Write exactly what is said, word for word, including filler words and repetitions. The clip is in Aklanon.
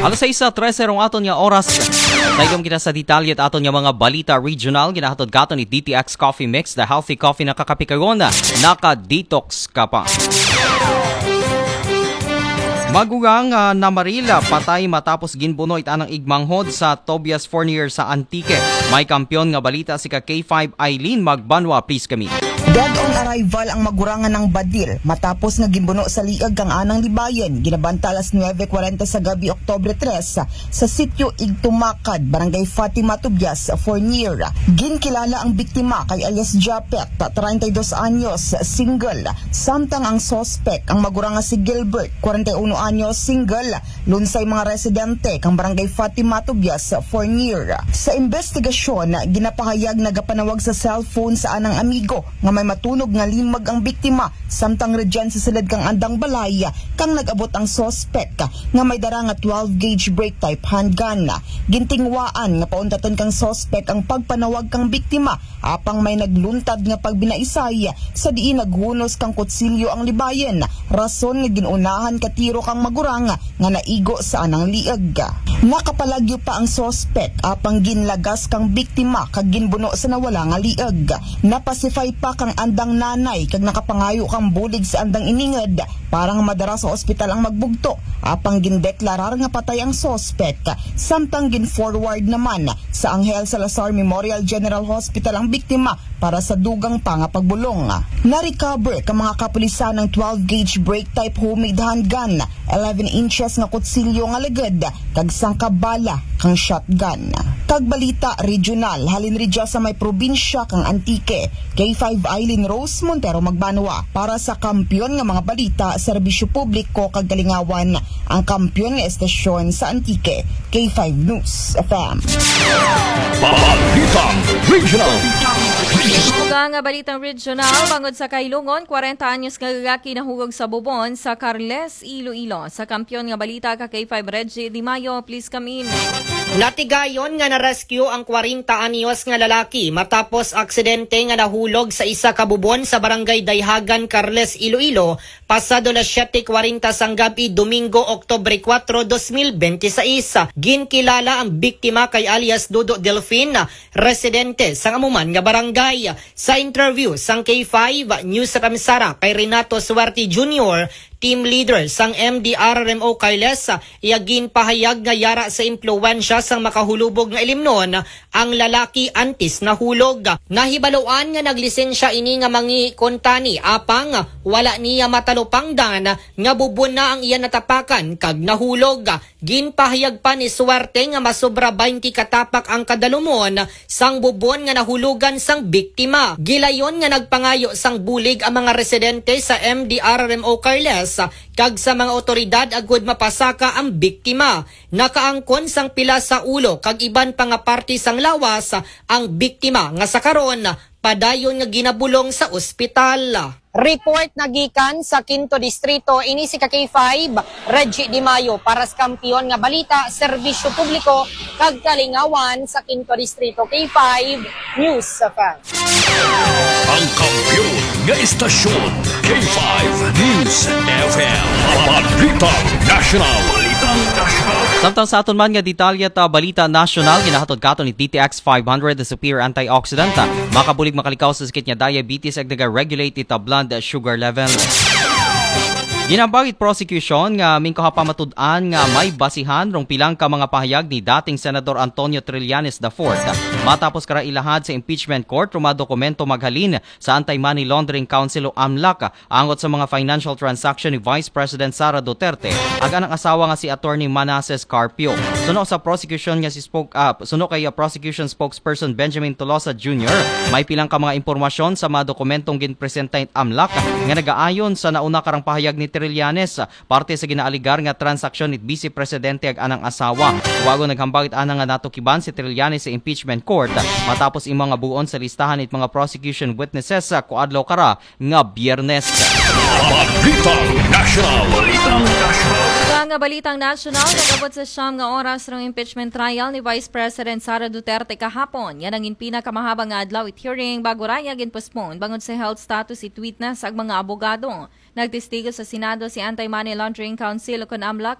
Alas sais trese rong aton nga oras. Tayo kita sa detalye at aton nga mga balita regional. Ginahatod katon ni D T X Coffee Mix, the healthy coffee na kakapikayon. Naka-detox ka pa. Magugang uh, na Marila patay matapos ginbuno it anang igmanghod sa Tobias Fornier sa Antique. May kampiyon nga balita si ka K five Eileen Magbanwa. Please kami. Dead on arrival ang magurangan ng Badil matapos nga gimbuno sa liag kang anang libayan, ginabanta alas nuebe kwarenta sa gabi, Oktubre tres, sa sitio Igtumakad, Barangay Fatima Tubias, Fornier. Ginkilala ang biktima kay alias Japet, treinta y dos anyos, single, samtang ang suspect ang magurang nga si Gilbert, kwarenta y uno anyos, single, lunsay mga residente kang Barangay Fatima Tubias, Fornier. Sa investigasyon, ginapahayag nagapanawag sa cellphone sa anang amigo nga may matunog nga limag ang biktima, samtang rudyan sa sulod kang andang balay kang nag-abot ang suspect nga may dara nga twelve gauge break type handgun. Gintingwaan nga pauntaton kang suspect ang pagpanawag kang biktima, apang may nagluntad nga pagbinaisay sa diin naghunos kang kutsilyo ang libayan, rason nga ginunahan ka tiro kang magurang nga naigo sa anang liag. Nakapalagyo pa ang suspect apang ginlagas kang biktima kag ginbuno sa nawala nga liag. Napasify pa kang andang nanay kag nakapangayo kang bulig sa andang iningod para nga madara sa ospital ang magbugto, apang gindeklarar nga patay ang suspect, samtang gin-forward naman sa Angel Salazar Memorial General Hospital ang biktima para sa dugang pa nga pagbulong. Na-recover ka mga kapulisan ang twelve gauge break type homemade handgun, eleven inches nga kutsilyo nga lagad, kag sangka bala kang shotgun. Kag balita regional, halin ridya sa may probinsya kang Antique, K five Eileen Rose Montero Magbanwa para sa kampiyon nga mga balita, serbisyo publiko kag kalingawan, ang kampiyon nga estasyon sa Antique, K five News F M. Balitang Regional. Ug ang balitang regional, bangod sa kahilungon, kwarenta anyos nga lalaki nahulog sa bubon sa Carles, Iloilo. Sa kampiyon nga balita ka K five Reggie Di Mayo, please come in. Natigayon nga na-rescue ang kwarenta anyos nga lalaki matapos aksidente nga nahulog sa isa ka bubon sa Barangay Dayhagan, Carles, Iloilo, pasado las siyete kwarenta sang gab-i, Domingo, Oktubre kuwatro, dos mil bente sais. Ginkilala ang biktima kay alias Dodo Delfin, residente sang amo man nga barangay. Sa interview sang K five News Ramsara kay Renato Suerte Junior, team leader sang M D R R M O Carles, iya ginpahayag nga yara sa impluwensya sang makahulubog nga ilimnon ang lalaki antes nahulog. Nahibaluan nga naglisensya ini nga mangi kuntani, apang wala niya matalupangdan nga bubon na ang iya natapakan kag nahulog. Ginpahayag pa ni Suerte nga masobra baynte ka tapak ang kadalumon sang bubon nga nahulogan sang biktima. Gilayon nga nagpangayo sang bulig ang mga residente sa M D R R M O Carles kag sa mga awtoridad agud mapasaka ang biktima. Nakaangkon sang pila sa ulo kag iban pa nga parte sang lawas ang biktima, nga sa karon padayon nga ginabulong sa ospital. Report na gikan sa Quinto Distrito, ini si ka K five, Reggie Di Mayo, para sa kampiyon nga balita, serbisyo publiko, kag kalingawan sa Quinto Distrito, K five News F M. Ang kampiyon nga istasyon, K five News F M. Balitang National. Balitang National. Samtang sa aton man nga detalye ta balita nasyonal, ginahatod katon ni D T X five hundred, the superior antioxidant. Makabulig makalikaw sa sakit nga diabetes ag naga-regulate it blood sugar level. Ginambag it prosecution nga mingkuha pa matud-an nga may basihan rong pilang ka mga pahayag ni dating Senador Antonio Trillanes the fourth. Matapos kara ilahad sa impeachment court rong mga dokumento maghalin sa Anti-Money Laundering Council o amlac, angot sa mga financial transaction ni Vice President Sara Duterte ag anang asawa nga si Attorney Manases Carpio. Suno sa prosecution nga si spoke, ah, suno kay, ah, prosecution spokesperson Benjamin Tolosa Junior, may pilang ka mga impormasyon sa mga dokumentong ginpresenta it amlac nga nagaayon sa nauna karang pahayag ni Trillanes, parte sa ginaaligar nga transaksyon ni Vice Presidente ag anang asawa. Wago naghambag it ana nga natukiban si Trillanes sa impeachment court matapos imo nga buon sa listahan it mga prosecution witnesses sa kuadlaw kara nga Biyernes. Balitang National. Sa nga balitang nasyonal, nag-abot sa siyam nga oras rong impeachment trial ni Vice President Sara Duterte kahapon. Yan ang pinakamahabang nga adlaw it hearing bago raya ginpostpone bangod sa health status it witness ag mga abogado. Nagtestigo sa Senado si Anti-Money Laundering Council o kon amlac